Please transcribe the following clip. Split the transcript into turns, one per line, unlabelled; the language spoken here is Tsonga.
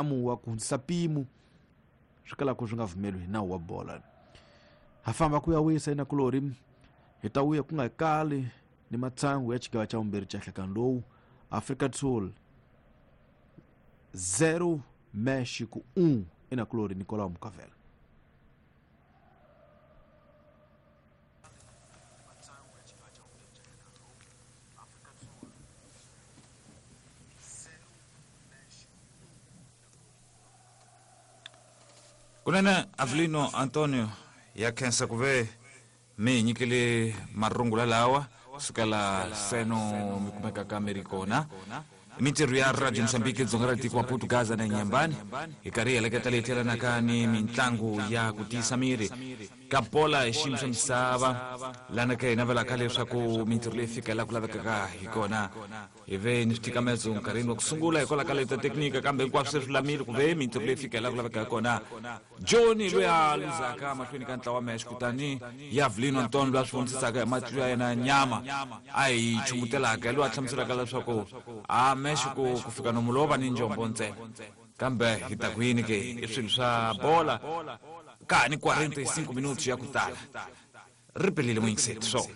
ntamu wa ku hundzisa mpimo swi kalaka swi nga pfumeli hi nawu wa bola. Ha famba ku ya wisa inakulori hi ta vuya ku nga kali ni matsangu ya xigava xa vumbirhi xa nhlekani lowu. Afrika do Sul 0 México 1 inakulori Nicolau Mukavela.
Kunene Avelino Antonio ya khensa ku ve mi hi nyikile marungula lawa sukela seno mi kumekaka mi ri kona. Mintirho ya Radio Mozambique dzonga ra tiko wa Portugaza na Nyambani hi karhi hi heleketa leyi tlhelanaka ni mintlangu ya ku tiyisa miri ka bola hi xiyimo xa misava lana ka hi navelaka leswaku mintirho leyi fika laha ku lavekaka hi kona. Hi ve ni switikamezo nkarhini wa ku sungula hikwalaho ka leta teknika, kambe hinkwaswo se swi lulamile ku ve mintirho leyi fika laha ku lavekaka hi kona. Johnny loyi a luzaka mahlweni ka ntlawa wa Mesh, kutani Yavelino Anton loyi a swi vonisisaka hi matihlo ya yena ya nyama a hi chumutelaka, hi loyi a hlamuselaka leswaku a Mesh ku fika nomu lowo va ni njombo ntsena. Kambe hi ta ku yini ke? I swilo swa bola ka ha ni 45 minutos ya ku tala. Ri pelile muyingiseti swo.